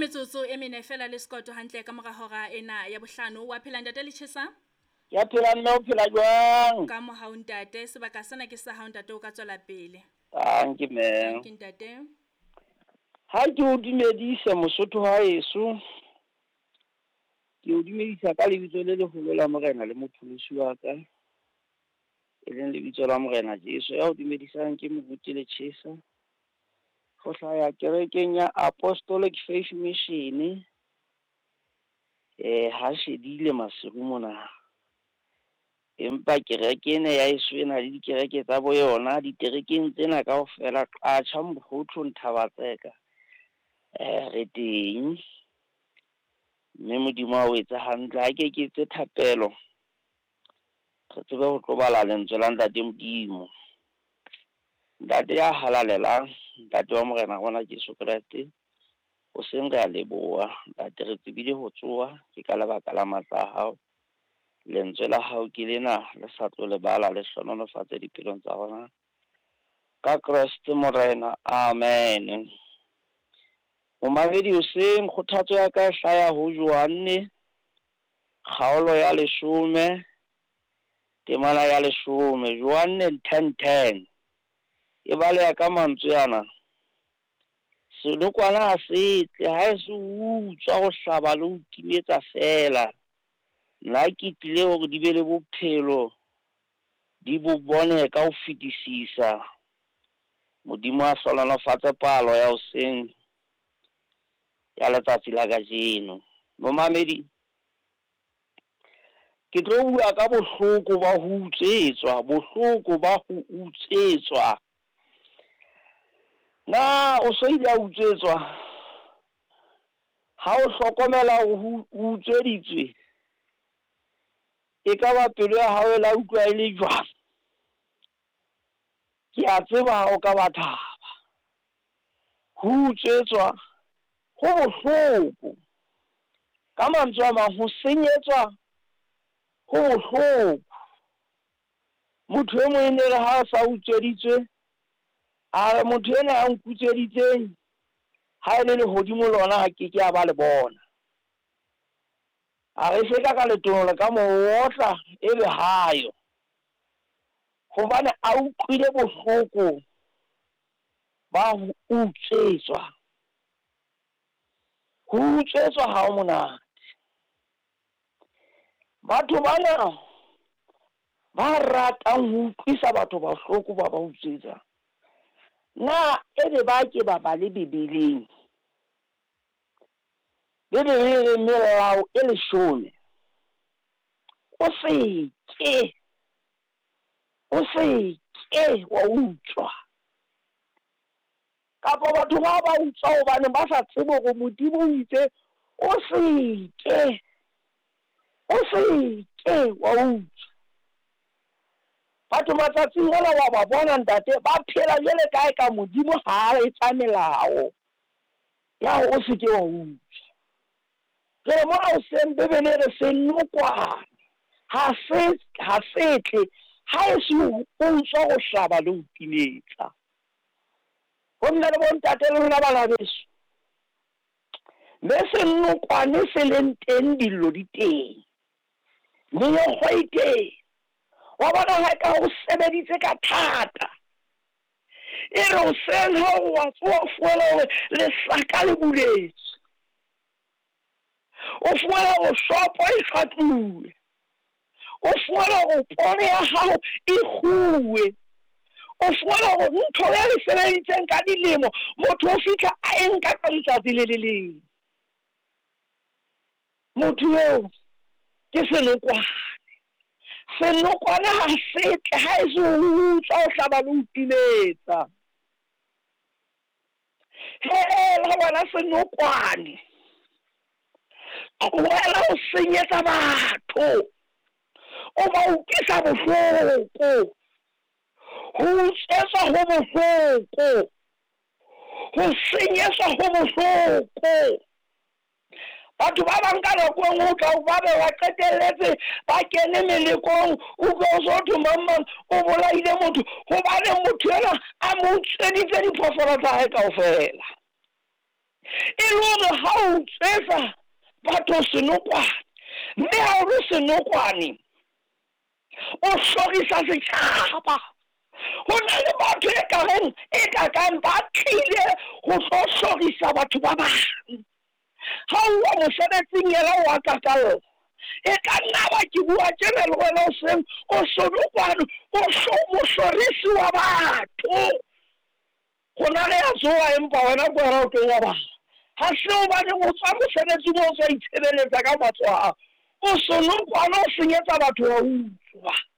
Ke metsotso e mene fela le sekoto hantle ka mora hora ena ya bohlano. Wa phela, ntate Letjhesa? Ya phela, mme. O phela jwang? Ka mohau, ntate. Sebaka sena ke sa hao, ntate, o ka tswela pele. Dankie, mme. Ke ntate. Ha ke o dumedise, Mosotho haeso. Ke o dumedisa ka lebitso le leholo la Morena le Mopholosi wa ka, e leng lebitso la Morena Jesu. Ya o dumedisang ke Moruti Letjhesa. Ho hlaya kerekeng ya Apostolic Faith Mission. Ha shedile Maseru mona. Empa kereke ena ya heso e na le dikereke tsa bo yona diterekeng tsena kaofela, Qacha, Mokgothu, Nthabatseka, re teng. Mme Modimo a o etse hantle. Ha ke ke etse thapelo, re tsebe ho tlo bala lentswe la Ntate Modimo. Ntate ya halalelang, Ntate wa Morena rona Jesu Kreste, hoseng re a leboha. Ntate, re tsebile ho tsoha ke ka lebaka la matla a hao. Lentswe la hao ke lena le sa tlo lebala, le hlohonolofatse dipelong tsa rona. Ka Kreste Morena, amen. Momamedi, hoseng kgothatso ya ka e hlaya ho Johanne kgaolo ya 10, temana ya 10, Johanne 10:10. E baleha ka mantswe ana: senokwane ha se tle ha e se utswa, ho hlaba le ho timetsa fela. Nna ke tlile hore di be le bophelo, di bo bone ka ho fetisisa. Modimo a hlohonolofatse palo ya hoseng ya letsatsi la kajeno. Momamedi, ke tlo bua ka bohloko ba ho utswetswa, bohloko ba ho utswetswa. Na o so ile a utswetswa? Ha o hlokomela hore o utsweditswe, e ka ba pelo ya hao e la utlwa e le jwang? Ke a tseba ha o ka ba thaba. Ho utswetswa ho bohloko. Ka mantswe a mang, ho senyetswa ho bohloko. Motho e mong e ne re ha a sa utsweditswe, a re motho ena ya nkutsweditseng, ha e le lehodimo lona ha ke ke a ba le bona. A re se ka ka letono le ka mo otla ebe hayo, hobane a utlwile bohloko ba ho utswetswa. Ho utswetswa ha ho monate. Batho bana ba ratang ho utlwisa batho bohloko ba ba utswetsa, na ebe ba ke ba bale Bibeleng? Bibele e re melao e 10, o se ke, o se ke wa utswa. Kapa batho ba ba utswa hobane ba sa tsebe hore Modimo o itse o se ke, o se ke wa utswa. Batho matsatsing ana wa ba bona, ntate, ba phela jwale kae ka Modimo ha a etsa melao ya hore o se ke wa utswa. Jwale mona hoseng Bibele e re senokwane ha se tle ha e se ho utswa, ho hlaba le ho timetsa. Ho nna le bontate le lona bana beso, mme senokwane se leng teng, dillo di teng, meokgo e teng. Wa bona ha ka o sebeditse ka thata, e re hoseng ha o wa tsoha, o fumana hore lesaka le buletswe, o fumana hore shopo e shwatluwe, o fumana hore poone ya hao e kguwe, o fumana hore ntho ya le sebeditseng ka dilemo motho o fihla a e nka ka letsatsi le le leng. Motho eo ke senokwane. Senokwane ha se tle ha e se ho utswa, ho hlaba le ho timetsa. Hela wena senokwane, tlohela ho senyetsa batho, o ba utlwisa bohloko. Ho utswetswa ho bohloko, ho senyetswa ho bohloko. Batho ba bang ka nako e nngwe o tla ba be ba qetelletse ba kene melekong, utlwe o so thwe mang mang o bolaile motho, hobane motho enwa a mo utsweditse diphoofolo tsa hae kaofela. le hore ha o utswetsa batho senokwane, mme ha o le senokwane o hlorisa setjhaba. Ho na le batho e ka reng e ka kang ba tlile ho tlo hlorisa batho ba bang. Ha o uwa mosebetsing yena o a kakalla. E ka nna ba ke bua tjena le wena hoseng, o senokwane, o mohlorisi wa batho. Rona re a tsoha empa wena ke wena o tlo robala. Ha se hobane o tswa mosebetsing o tswa itshebeletsa ka matsoho a hao. O senokwane, o senyetsa batho wa utswa.